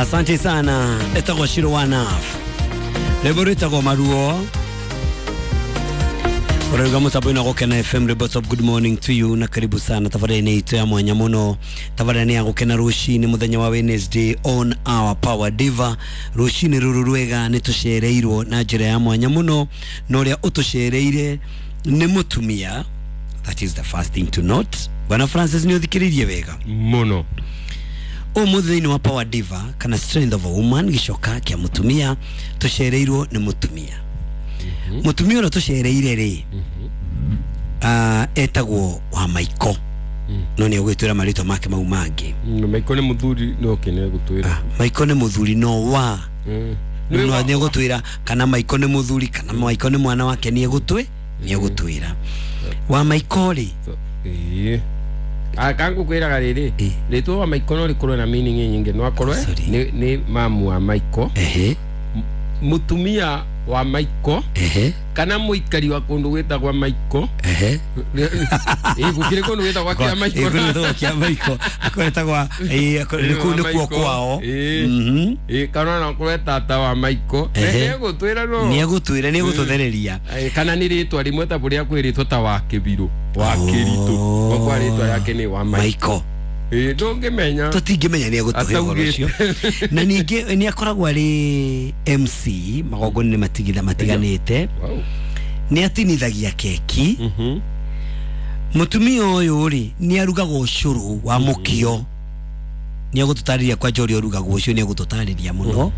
Asante sana. Etagwo Shiro Wanaf. Rwĩmbo rwĩtagwo Maruo. Ũrauga mũtambo-inĩ wa Gũkena FM Rebels of good morning to you na karibu sana tabarĩra-inĩ itũ ya mwanya mũno. Tabarĩra nĩ ya gũkena rũcinĩ mũthenya wa Wednesday on our Power Diva. Rũcinĩ rũrũ rwega nĩ tũcereirwo na njĩra ya mwanya mũno, na ũrĩa ũtũcereire nĩ mũtumia. That is the first thing to note. Bwana Francis, nĩ ũthikĩrĩirie wega muno. Ũmũthĩ thĩinĩ wa Power Diva kana Strength of a Woman, gĩcoka kĩa mũtumia, tũcereirwo nĩ mũtumia. Mũtumia ũrĩa tũcereire rĩ, etagwo wa Maiko, no nĩ egwĩtwĩra marĩtwa make mau mangĩ. Maiko nĩ mũthuri no kene gũtwĩra. Maiko nĩ mũthuri no wa no nĩ egũtwĩra kana Maiko nĩ mũthuri kana Maiko nĩ mwana wake, nĩ egũtwĩra. Wa Maiko rĩ, ĩĩ kangukwĩraga rĩrĩ, rĩtwa wa Maiko no rĩkorwo na meaning nyingĩ, no akorwo nĩ mamu wa Maiko, mũtumia wa Maiko, kana mũikari wa kũndũ gwĩtagwo Maiko. Gũkĩrĩ kũndũ gwĩtagwo kĩa Maiko. Kũndũ kĩa Maiko akoretagwa kũu nĩkuo kwao. Kana no akorwo tata wa Maiko. Nĩegũtwĩra, no nĩegũtwĩra, nĩegũtũthereria. Kana nĩ rĩtwa rĩmwe ta bũrĩa kwĩrĩtwo ta wa Kĩbirũ, wa Kĩritũ, kwa rĩtwa yake nĩ wa Maiko. Ndũngĩmenya, tũtingĩmenya nĩ egũtũhe ũhoro ũcio. Na ningĩ nĩ akoragwo arĩ MC magongona-inĩ matiganĩte, nĩ atinithagia keki. Mũtumia ũyũ rĩ, nĩ arugaga ũcũrũ wa mũkio. Nĩ egũtũtarĩria kwanja ũrĩa ũrugagwo ũcio, nĩ egũtũtarĩria mũno,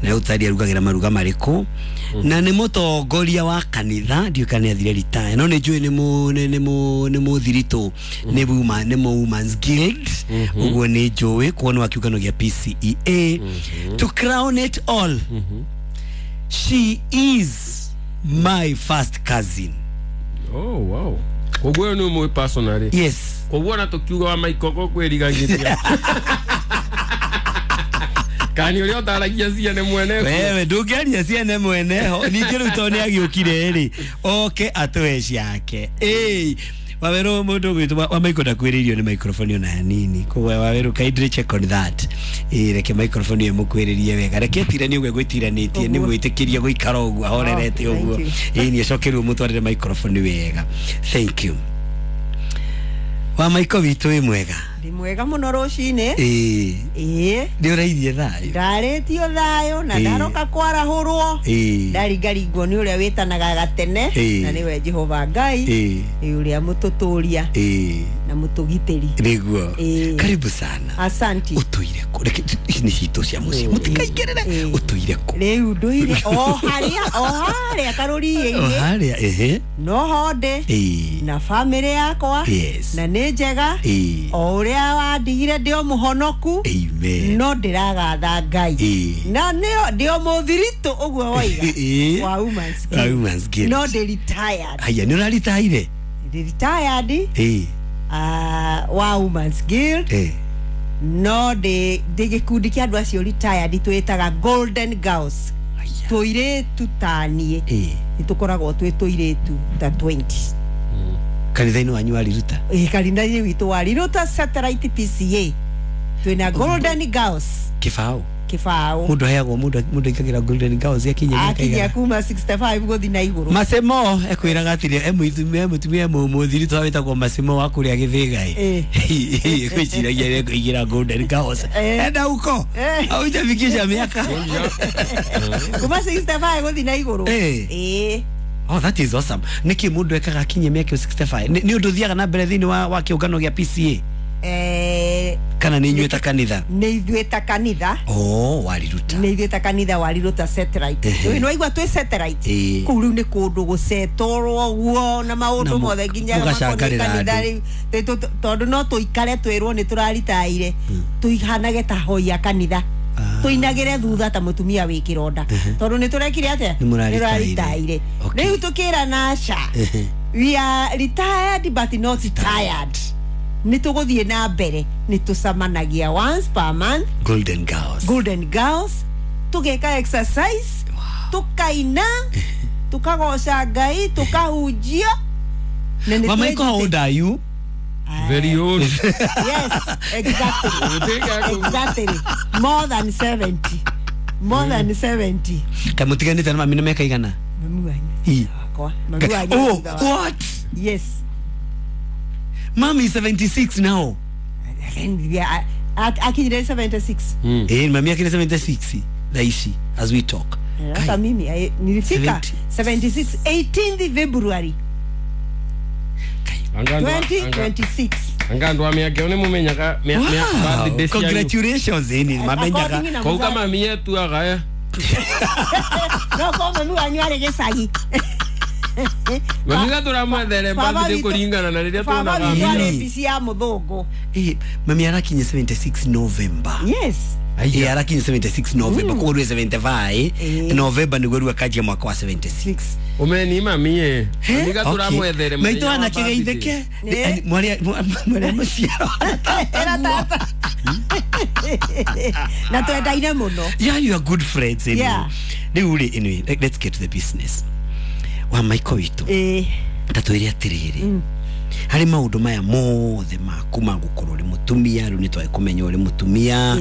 na egũtũtarĩria arugagĩra maruga marĩkũ. Na nĩ mũtongoria wa kanitha, ndiũĩ kana nĩ athire retire, no nĩ njũĩ nĩ mũthiritũ, nĩ Women's Guild, ũguo nĩ njũĩ kuo nĩ wa kĩũngano gĩa PCEA. To crown it all, she is my first cousin. Oh wow. Koguo nĩ ũmũĩ personally? Yes. Koguo ona tũkiuga wa Maiko kwĩrigagĩria kani ũrĩa ũtaragia ciene mwene. Wewe ndũngĩaria ciene mwene ho. Ningĩ rĩu tondũ nĩ agĩũkire rĩ, oke atũhe ciake. Waweru mũndũ ũgwĩtwo wa Maiko ndakwĩrĩirio nĩ microphone ona hanini. Koguo Waweru, kindly check on that. Reke microphone ĩyo mũkwĩrĩrie wega. Reke tirani ũguo gwĩtiranĩtie, nĩ mwĩtĩkĩrie gũikara ũguo ahorerete ũguo. Nĩ acokerwo mũtwarĩre microphone wega. Thank you. Wa Maiko witũ, wĩ mwega? Ndĩ mwega mũno rũcinĩ. Ĩĩ. Nĩ ũrairie thayũ? Ndarĩtio thayũ na ndaroka kwarahũrwo. Ndaringaringwo nĩ ũrĩa wĩtanaga gatene, na nĩwe Jehova Ngai, ũrĩa mũtũtũria na mũtũgitĩri. Nĩguo. Karibu sana. Asanti. Ũtũire kũ? Reke ici nĩ citũ cia mũciĩ, mũtikaingĩrĩre. Ũtũire kũ? Rĩu ndũire o harĩa karũriĩ-inĩ. O harĩa, no ho ndĩ na bamĩrĩ yakwa, na nĩ njega. O ũrĩa wandigire ndĩ o mũhonoku, no ndĩragatha Ngai, na ndĩ o mũthiritũ ũguo woiga wa Women's Guild, no ndĩ retired. Haya, nĩ ũraritaire? Ndĩ retired wa Women's Guild, no ndĩ gĩkundi kĩa andũ acio retired twĩtaga Golden Girls. Tũirĩtu ta niĩ nĩ tũkoragwo twĩ tũirĩtu ta 20. Kanitha-inĩ wanyu wa Riruta? Kanitha-inĩ witũ wa Riruta Satellite PCA twĩna Golden Girls. Kĩbaũ? Kĩbaũ. Mũndũ aheagwo, mũndũ aingagĩra Golden Girls akinyia mĩaka akinyia kuma 65 gũthiĩ na igũrũ. Masemo ekwĩraga atĩrĩ, mũtumia mũthiritũ wĩtagwo Masemo wa kũrĩa Gĩthĩga ĩ, gwĩciragia ekũingĩra Golden Girls. Enda huko haujafikisha miaka kuma 65 gũthiĩ na igũrũ. Oh, that is awesome. Nĩkĩ mũndũ ekaga akinyia mĩaka 65? Nĩ ũndũ ũthiaga na mbere thĩinĩ wa kĩũngano gĩa PCA? Kana nĩ inyuĩ ta kanitha? Nĩ ithuĩ ta kanitha. Oh, wariruta. Nĩ ithuĩ ta kanitha wariruta satellite. Nĩ waigua twĩ satellite? Kũu rĩu nĩ kũndũ gũcetorwo ũguo na maũndũ mothe nginya makoniĩ kanitha rĩu. Tondũ no tũikare twĩrwo nĩ tũraritaire, tũihanage ta hoi a kanitha. Tũinagĩre thutha ta mũtumia wĩ kĩronda, tondũ nĩ tũrekire atĩa? Nĩ mũraritaire. Rĩu tũkĩrana aca, we are retired but not tired. Nĩ tũgũthiĩ na mbere, nĩ tũcemanagia once per month. Golden Girls. Golden Girls, tũgeka exercise, tũkaina, tũkagoca Ngai, tũkahunjia. Wa Maiko, how old are you? Very old. Yes, exactly. Exactly. More than 70. More than 70. Kamutiganite na mami na miaka igana? Mami wanyu. Mami wanyu. Oh, what? Yes. Mami is 76 now. Yeah, akinyire 76. Mami akinyire 76. Daishi as we talk. Hata mimi nilifika 76 18th February 2026. Anga ndo amia mumenyaga mia. Congratulations ini mamenyaga. Kwa kama mimi tu agaya. No kwa mami wanyu ari gicagi. Mami gatura mwethere birthday kuringana na riria tuonaga. Mami ari bici ya muthungu. Mami arakinye 76 November. Yes. Arakinye 76 November koguo rwe 75 November niguo rwe kanjia mwaka wa 76. Umeni mami mami gatura mwethere. Maitũ anakigeitheke mwaria mwaria muciaro. Era tata. Na twendaine muno. Yeah, you are good friends anyway. Yeah. Riu ri anyway, let's get to the business. Wa Michael witũ. Ta twĩre atĩrĩrĩ. Harĩ maũndũ maya mothe maku ma gũkorwo ũrĩ mũtumia, rĩu nĩ twagĩ kũmenya ũrĩ mũtumia,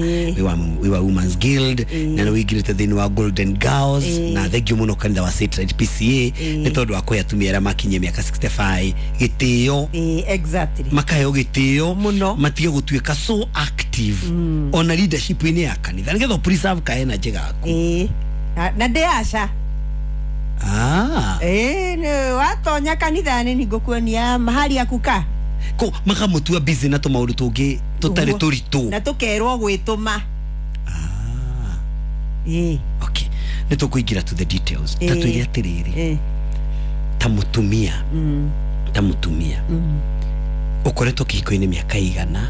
wĩ wa Women's Guild, na nĩ wĩingĩrĩte thĩinĩ wa Golden Girls, na thengiũ mũno kanitha wa Satellite PCA, nĩ tondũ wa kũhe atumia arĩa makinyie mĩaka 65 gĩtĩo. Exactly. Makaheo gĩtĩo mũno, matige gũtuĩka so active ona leadership-inĩ ya kanitha nĩgetha preserve ka energy gaku. Na ndĩ aca. Watonya kanitha-inĩ nĩngũkuonia mahali ya kukaa. Ko makamutua busy na tũmaũndũ tũngĩ tũtarĩ tũritũ. Na tũkerwo gwĩtũma. Okay. Nĩ tũkũingĩra to the details. Ta twĩre atĩrĩrĩ. Ta mũtumia. Ta mũtumia. Ũkoretwo kĩhiko-inĩ mĩaka igana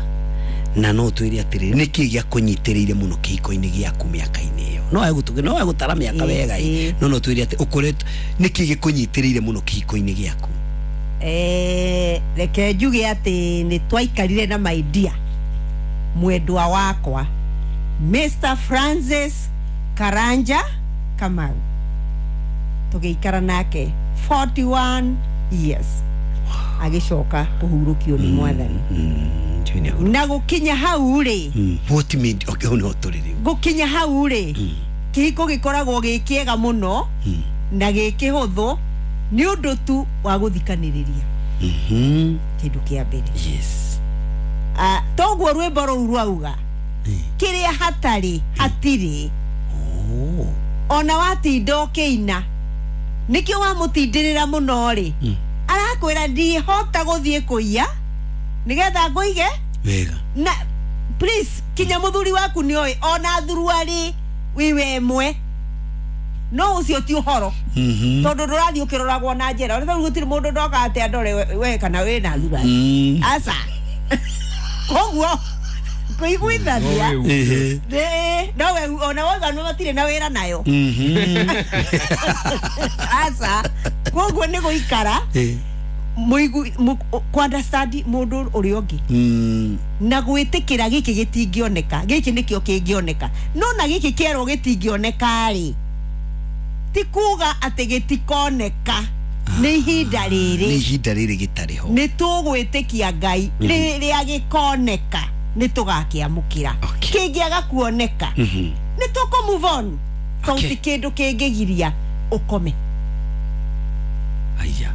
na no twĩre atĩrĩrĩ nĩkĩ gĩakũnyitĩrĩire mũno kĩhiko-inĩ gĩaku mĩaka-inĩ ĩyo. No egũtũge no egũtara mĩaka wega no no twĩre atĩ ũkoretwo nĩkĩ gĩkũnyitĩrĩire mũno kĩhiko-inĩ gĩaku. Reke njuge atĩ nĩ twaikarire na my dear mwendwa wakwa Mr. Francis Karanja Kamau, tũgĩikara nake 41 years agĩcoka kũhurũkio nĩ Mwathani. Na gũkinya hau rĩ, what made okay no tũrĩ rĩu gũkinya hau rĩ, kĩhiko gĩkoragwo gĩ kĩega mũno na gĩ kĩhũthũ nĩ ũndũ tu wa gũthikanĩrĩria. Kĩndũ kĩa mbere. Yes. Toguo rwĩmbo rũu rwauga kĩrĩa hatarĩ hatirĩ. Ona watinda ũkĩina nĩkĩo wamũtindĩrĩra mũno rĩ, arakwĩra ndihota gũthiĩ kũiya nĩgetha ngũige wega. Na please kinya mũthuri waku nĩoĩ ona thuruarĩ wiwe ĩmwe no ũcio ti ũhoro, tondũ ndũrathiĩ ũkĩroragwo na njĩra ũrĩa rĩu gũtirĩ mũndũ ndoka atĩ andore we kana wĩna thuruarĩ aca. Koguo kũiguithania no we ona wauga no matirĩ na wĩra nayo aca. Koguo nĩ gũikara ku understand mũndũ ũrĩa ũngĩ na gwĩtĩkĩra gĩkĩ gĩtingĩoneka, gĩkĩ nĩkĩo kĩngĩoneka. No na gĩkĩ kĩerwo gĩtingĩoneka rĩ, ti kuga atĩ gĩtikoneka, nĩ ihinda rĩrĩ, nĩ ihinda rĩrĩ gĩtarĩ ho, nĩ tũgwĩtĩkia Ngai rĩrĩa gĩkoneka nĩ tũgakĩamũkĩra. Kĩngĩaga kuoneka nĩ tũkũ move on, tondũ ti kĩndũ kĩngĩgiria ũkome. Aya.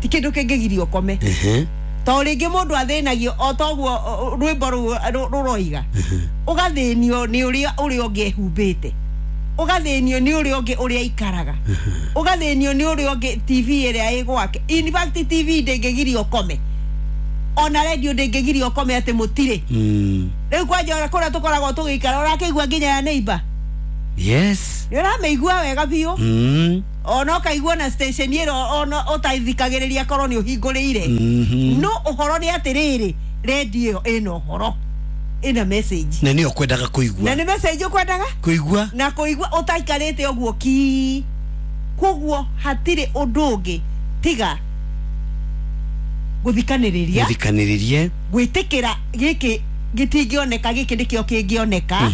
Ti kĩndũ kĩngĩgiria ũkome. To rĩngĩ mũndũ athĩnagio o toguo rwĩmbo rũroiga, ũgathĩnio nĩ ũrĩa ũrĩa ũngĩ ehumbĩte, ũgathĩnio nĩ ũrĩa ũngĩ ũrĩa aikaraga, ũgathĩnio nĩ ũrĩa ũngĩ TV ĩrĩa ĩ gwake. In fact TV ndĩngĩgiria ũkome, ona radio ndĩngĩgiria ũkome atĩ mũtirĩ. Rĩu kwanja ona kũrĩa tũkoragwo tũgĩikara ũrakĩigua nginya ya neighbor. Yes. Nĩ ũramĩigua wega biũ. Ona ũkaigua na station ĩro ona ũtaithikagĩrĩria korwo nĩ ũhingũrĩire. No ũhoro nĩ atĩrĩrĩ, radio ĩna ũhoro, ĩna message. Na nĩ ũkwendaga kũigua. Na nĩ message ũkwendaga kũigua. Na kũigua ũtaikarĩte ũguo ki. Koguo hatirĩ ũndũ ũngĩ tiga gũthikanĩrĩria. Gũthikanĩrĩria. Gwĩtĩkĩra gĩkĩ gĩtingĩoneka, gĩkĩ nĩkĩo kĩngĩoneka.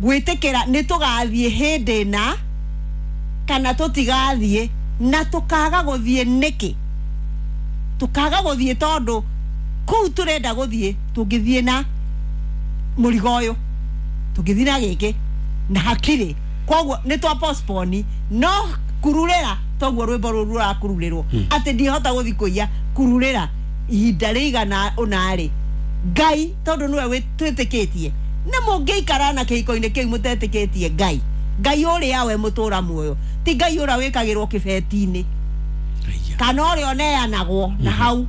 Gwĩtĩkĩra nĩ tũgathiĩ hĩndĩ na kana tũtigathiĩ, na tũkaga gũthiĩ nĩkĩ? Tũkaga gũthiĩ tondũ kũu tũrenda gũthiĩ, tũngĩthiĩ na mũrigo ũyũ, tũngĩthiĩ na gĩkĩ na hakiri, koguo nĩ twa postpone. No kururĩra toguo rwĩmbo rũrũ rũrakururĩrwo atĩ ndihota gũthiĩ kũiya, kururĩra ihinda rĩigana ũna rĩ, Ngai tondũ nĩwe twĩtĩkĩtie, na mũngĩikara na kĩhiko-inĩ kĩu mũtetĩkĩtie Ngai, Ngai ũrĩa we mũtũra muoyo, ti Ngai ũrĩa wĩkagĩrwo kĩbeti-inĩ kana ũrĩa ũneanagwo na hau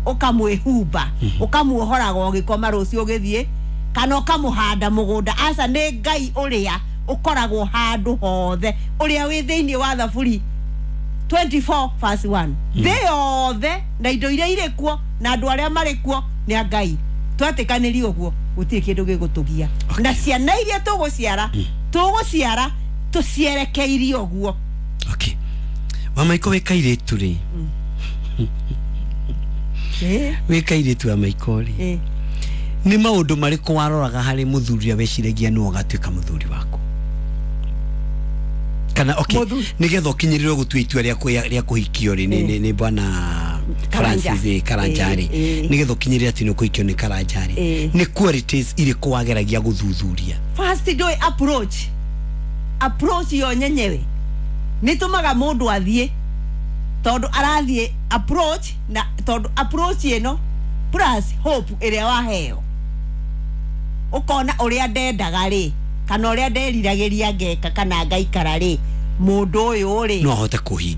ũkamwĩhumba, ũkamuohoraga ũgĩkoma rũciũ ũgĩthiĩ, kana ũkamũhanda mũgũnda. Aca, nĩ Ngai ũrĩa ũkoragwo handũ hothe, ũrĩa wĩ thĩinĩ wa Thaburi 24 verse 1. Thĩ yothe na indo iria irĩ kuo na andũ arĩa marĩ kuo nĩ a Ngai. Twetĩkanĩria ũguo, gũtirĩ kĩndũ gĩgũtũgia, na ciana iria tũgũciara, tũgũciara tũcierekeirie ũguo. Okay, Wamaiko, wĩ kairĩtu rĩ, wĩ kairĩtu wa Maiko rĩ, nĩ maũndũ marĩkũ waroraga harĩ mũthuri ũrĩa weciragia nĩwe ũgatuĩka mũthuri waku? Kana okay, nĩgetha ũkinyĩrĩrwo gũtua itua rĩa kũhikio rĩ, nĩ bwana Francis Karanja rĩ, nĩgetha ũkinyĩrĩre atĩ nĩ ũkũhikio nĩ Karanja rĩ, nĩ qualities irĩkũ wageragia gũthuthuria? First, ndũĩ approach yo nyenyewe nĩ tũmaga mũndũ athiĩ, tondũ arathiĩ approach, na tondũ approach ĩno plus hope ĩrĩa waheo, ũkona ũrĩa ndendaga rĩ, kana ũrĩa nderiragĩria ngeka kana ngaikara rĩ, mũndũ ũyũ rĩ no ahote kũhingia.